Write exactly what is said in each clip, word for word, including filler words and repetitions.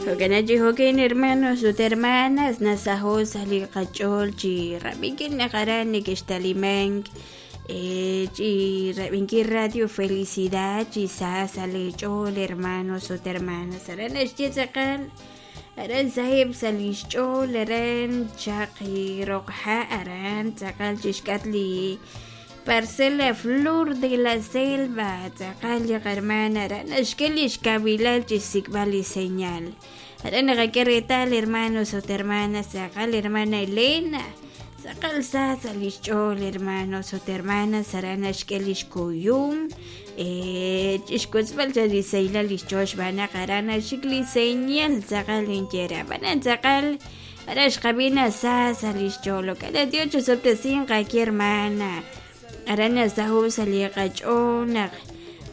Jo'kan chi jo'kan hermanos ut hermanas nasaho' sa' li qach'ool chi rab'inkil naq aran nekextalimank chi rab'inkil Radio Felicidad chi sa sa' leech'ool hermanos ut hermanas aran naxye tz'aqal aran saheb' sa' lix ch'ool aran chaqi roq ha' aran tz'aqal chixk'atq li Parcela Flor de la Selva tz'aqal li qahermana aran naxk'e lix kawilal chixsik'b'al li señal aran naqak'e reetal hermanos ut hermanas tz'aqal hermana Elena tz'aqal sa sa' lix ch'ool hermanos ut hermanas aran naxk'e lix kuyum chixkotzb'al sa' li sahilal lix ch'ool xb'aan naq aran naxik li señal tz'aqal ninyere ab'anan tz'aqal aran xqab'i sa sa' lix ch'ool jo'kan Dios chusob'tesinq aaki hermana aran nasaho' sa' li qach'ool naq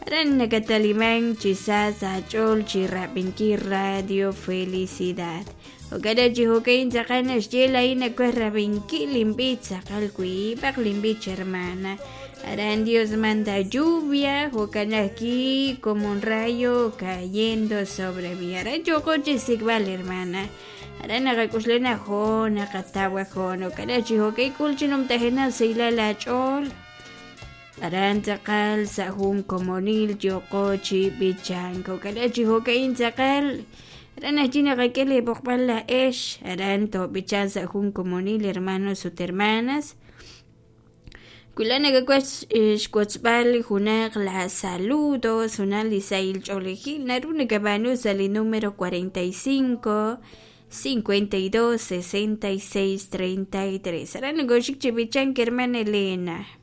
aran nakatalimank chi sa sa' ch'ool chi rab'inkil Radio Felicidad jo'kan chi jo'kan tz'aqal naxye laa'in nawaj rab'inkil linb'ich tz'aqal wiib'aq linb'ich hermana aran Dios manda lluvia jo'kan ajwi' como un rayo cayendo sobre mí aran yooqo chixsik'b'al hermana aran naqak'uxla jo' naqataw jo' jo'kan chi jo'kan k'ul chi numtajenaq sahilal aach'ool aran tz'aqal sa' jun komonil yooqo chi b'ichank jo'kan chi jo'kan tz'aqal aran ajwi' naqak'e li b'oqb'al la'ex aran toob'ichan sa' jun komonil hermanos ut hermanas wi laa'at nakawaj xwotzb'al junaq la saludos junaq li sahil ch'oolejil naru nakab'aanu sa' li número cuarenta y cinco cincuenta y dos sesenta y seis treinta y tres aran nokoxik chi b'ichank hermana Elena.